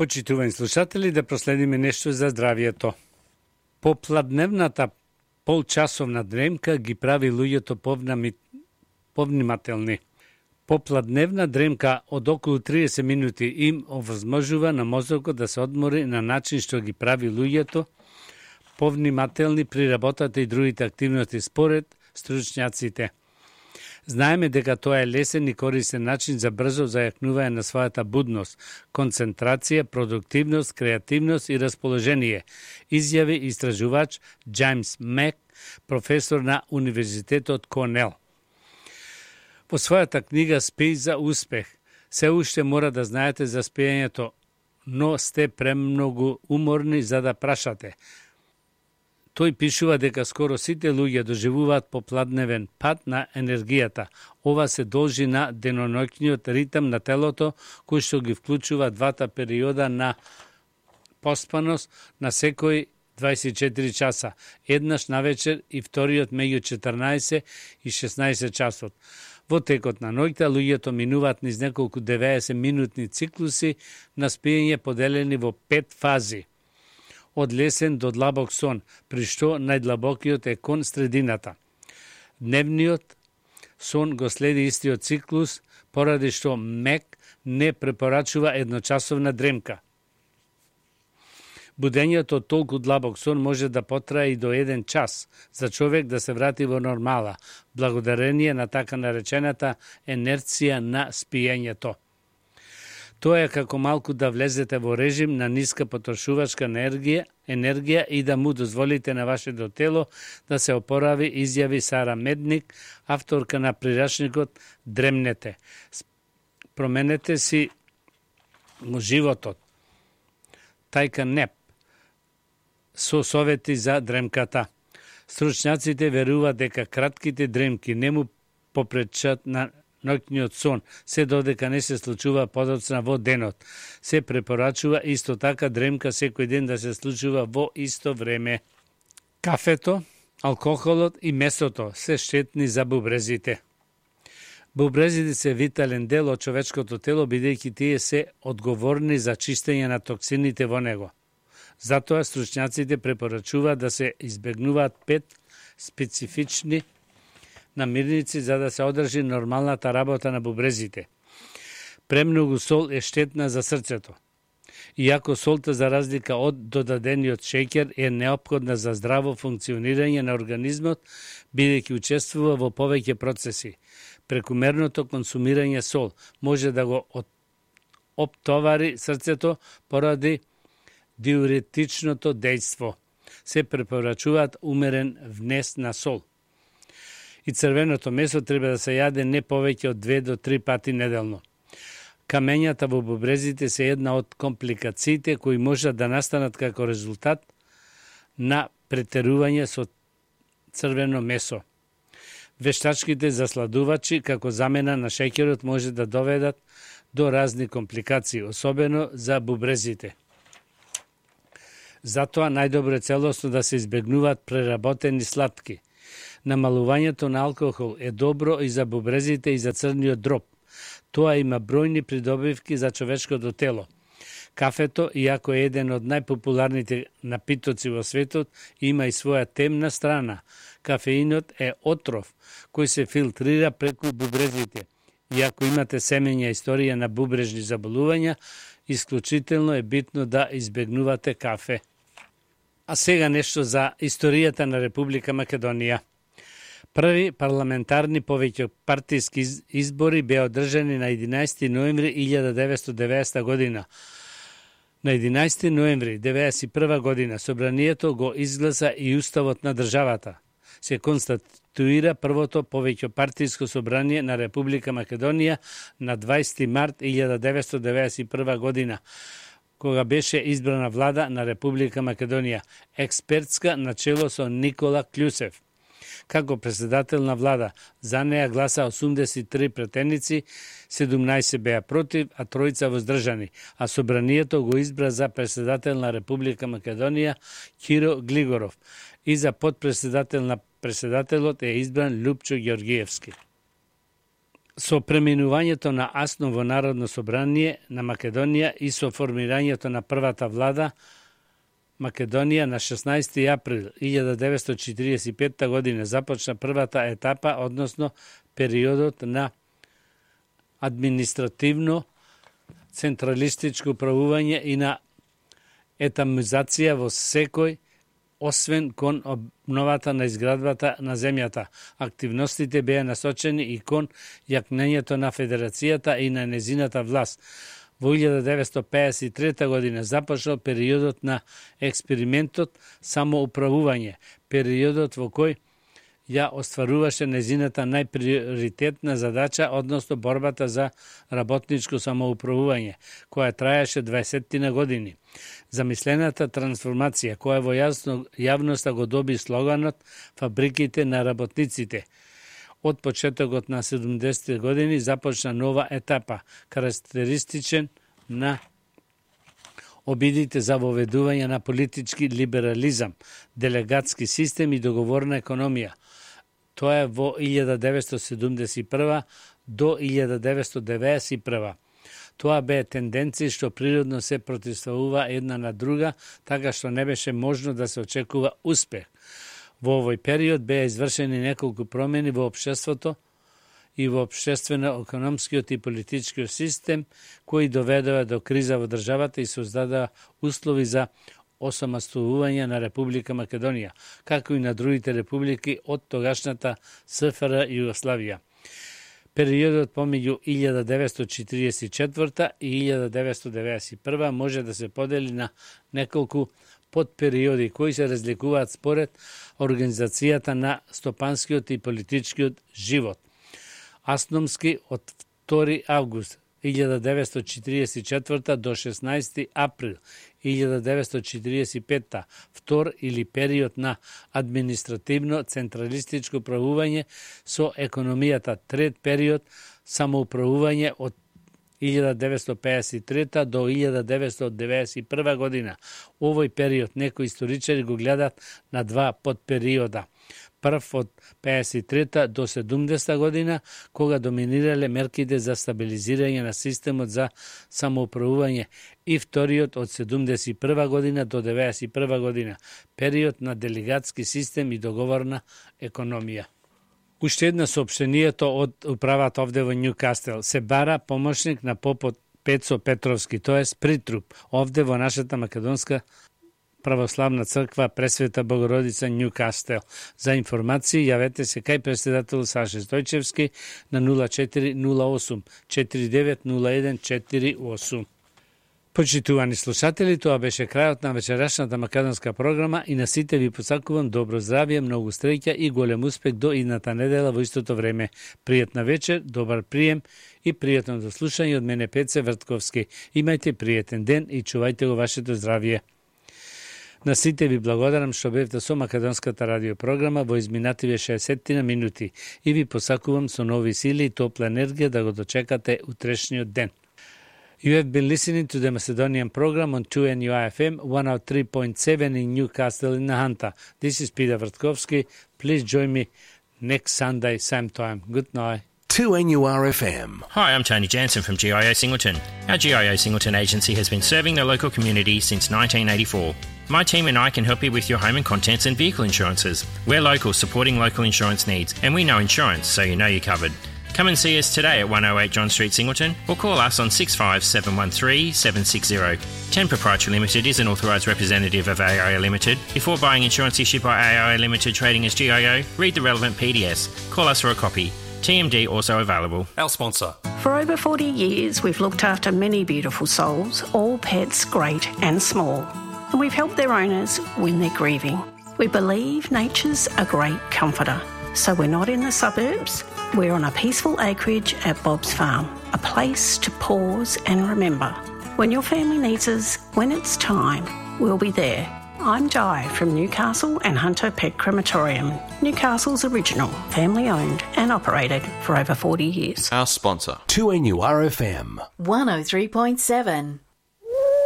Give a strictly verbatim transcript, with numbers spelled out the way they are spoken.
Почитувани слушатели, да проследиме нешто за здравието. Попладневната полчасовна дремка ги прави луѓето повнами... повнимателни. Попладневна дремка од околу триесет минути им овозможува на мозокот да се одмори на начин што ги прави луѓето повнимателни при работата и другите активности според стручњаците. Знаеме дека тоа е лесен и корисен начин за брзо зајакнување на својата будност, концентрација, продуктивност, креативност и расположение, изјави истражувач Џајмс Мек, професор на Универзитетот Корнел. Во својата книга Спеј за успех, се уште мора да знаете за спиењето, но сте премногу уморни за да прашате. Тој пишува дека скоро сите луѓе доживуваат попладневен пад на енергијата. Ова се должи на деноноќниот ритм на телото, кој што ги вклучува двата периода на поспаност на секој дваесет и четири часа, еднаш навечер и вториот меѓу четрнаесет и шеснаесет часот. Во текот на ноќта луѓето минуваат низ неколку деветдесет минутни циклуси на спиење поделени во пет фази. Од лесен до длабок сон, при што најдлабокиот е кон средината. Дневниот сон го следи истиот циклус, поради што Мек не препорачува едночасовна дремка. Будењето од толку длабок сон може да потрае и до еден час за човек да се врати во нормала, благодарение на така наречената енерција на спиењето. Тоа е како малку да влезете во режим на ниска потрошувачка енергија, енергија и да му дозволите на вашето тело да се опорави, изјави Сара Медник, авторка на прирачникот Дремнете. Променете си животот. Тајка Неп со совети за дремката. Стручњаците веруваат дека кратките дремки не му попречат на ноќниот сон, се додека не се случува подоцна во денот. Се препорачува исто така дремка секој ден да се случува во исто време. Кафето, алкохолот и месото се штетни за бубрезите. Бубрезите се витален дел од човечкото тело, бидејќи тие се одговорни за чистење на токсините во него. Затоа стручњаците препорачуваат да се избегнуваат пет специфични намирници за да се одржи нормалната работа на бубрезите. Премногу сол е штетна за срцето. Иако солта, за разлика од додадениот шеќер, е неопходна за здраво функционирање на организмот, бидејќи учествува во повеќе процеси. Прекумерното консумирање сол може да го оптовари срцето поради диуретичното дејство. Се препорачуваат умерен внес на сол. И црвеното месо треба да се јаде не повеќе од две до три пати неделно. Камењата во бубрезите се една од компликациите кои можат да настанат како резултат на претерување со црвено месо. Вештачките засладувачи како замена на шеќерот може да доведат до разни компликации, особено за бубрезите. Затоа најдобро е целосно да се избегнуваат преработени сладки. Намалувањето на алкохол е добро и за бубрезите и за црниот дроб. Тоа има бројни придобивки за човечкото тело. Кафето, иако е еден од најпопуларните напитоци во светот, има и своја темна страна. Кафеинот е отров кој се филтрира преку бубрезите. Иако имате семења историја на бубрежни заболувања, исклучително е битно да избегнувате кафе. А сега нешто за историјата на Република Македонија. Први парламентарни повеќе партиски избори беа одржани на единаесети ноември илјада деветстотини и деветдесета година. На единаесети ноември деветдесет и прва година собранието го изгласа и уставот на државата. Се конституира првото повеќе партиско собрание на Република Македонија на дваесети март илјада деветстотини деветдесет и прва година, кога беше избрана влада на Република Македонија, експертска начело со Никола Клјусев. Како председател на влада, за неја гласа осумдесет и три претеници, седумнаесет беа против, а тројца воздржани, а собранието го избра за председател на Република Македонија Киро Глигоров и за подпредседател на председателот е избран Љупчо Ѓоргиевски. Со преминувањето на Асново Народно собрание на Македонија и со формирањето на првата влада Македонија на шеснаести април илјада деветстотини четиридесет и петта година започна првата етапа, односно периодот на административно централистичко управување и на етамизација во секој, освен кон обновата на изградбата на земјата. Активностите беа насочени и кон јакнењето на федерацијата и на незината власт. Во илјада деветстотини пеесет и трета година започнал периодот на експериментот самоуправување, периодот во кој ја остваруваше незината најприоритетна задача, односно борбата за работничко самоуправување, која траеше дваесет години. Замислената трансформација, која во јасно, јавноста го доби слоганот «Фабриките на работниците». Од почетокот на седумдесетте години започна нова етапа, карактеристичен на обидите за воведување на политички либерализам, делегатски систем и договорна економија. Тоа е во илјада деветстотини седумдесет и прва до илјада деветстотини деведесет и прва. Тоа бе тенденција што природно се противставува една на друга, така што не беше можно да се очекува успех. Во овој период беа извршени неколку промени во општеството и во општествено-економскиот и политичкиот систем, кои доведоа до криза во државата и создадоа услови за осамостојување на Република Македонија, како и на другите републики од тогашната СФР Југославија. Периодот помеѓу илјада деветстотини четиридесет и четврта и илјада деветстотини деведесет и прва може да се подели на неколку подпериоди кои се разликуваат според организацијата на стопанскиот и политичкиот живот. Асномски од втори август илјада деветстотини четиридесет и четврта до шеснаести април илјада деветстотини четиридесет и петта, втор или период на административно централистичко управување со економијата, трет период самоуправување од илјада деветстотини пеесет и трета до илјада деветстотини деведесет и прва година. Овој период некои историчари го гледат на два подпериода. Прв од пеесет и трета до седумдесета година, кога доминирале мерките за стабилизирање на системот за самоуправување, и вториот од седумдесет и прва година до деведесет и прва година, период на делегатски систем и договорна економија. Уште една соопштението од управата овде во Њукастел. Се бара помошник на попот Пецо Петровски, тоест притруп, овде во нашата македонска православна црква Пресвета Богородица Њукастел. За информации јавете се кај председател Саше Стојчевски на нула четири нула осум четири девет нула еден четири осум. Почитувани слушатели, тоа беше крајот на вечерашната македонска програма и на сите ви посакувам добро здравје, многу среќа и голем успех до идната недела во истото време. Пријатна вечер, добар прием и пријатно до слушање од мене Пеце Вртковски. Имајте пријатен ден и чувајте го вашето здравје. На сите ви благодарам што бевте со македонската радиопрограма во изминативе шеесет минути и ви посакувам со нови сили и топла енергија да го дочекате утрешниот ден. You have been listening to the Macedonian program on two N U I F M one oh three point seven in Newcastle in Nahanta. This is Peter Vrtkovski. Please join me next Sunday, same time. Good night. two N U R F M. Hi, I'm Tony Jansen from G I O Singleton. Our G I O Singleton agency has been serving the local community since nineteen eighty-four. My team and I can help you with your home and contents and vehicle insurances. We're local, supporting local insurance needs, and we know insurance, so you know you're covered. Come and see us today at one oh eight John Street, Singleton, or call us on six five seven one three seven six zero. ten Proprietary Limited is an authorised representative of A I O Limited. Before buying insurance issued by A I O Limited trading as G I O, read the relevant P D S. Call us for a copy. T M D also available. Our sponsor. For over forty years, we've looked after many beautiful souls, all pets great and small. And we've helped their owners when they're grieving. We believe nature's a great comforter. So we're not in the suburbs. We're on a peaceful acreage at Bob's Farm, a place to pause and remember. When your family needs us, when it's time, we'll be there. I'm Di from Newcastle and Hunter Pet Crematorium, Newcastle's original, family-owned and operated for over forty years. Our sponsor. two N U R F M. one oh three point seven.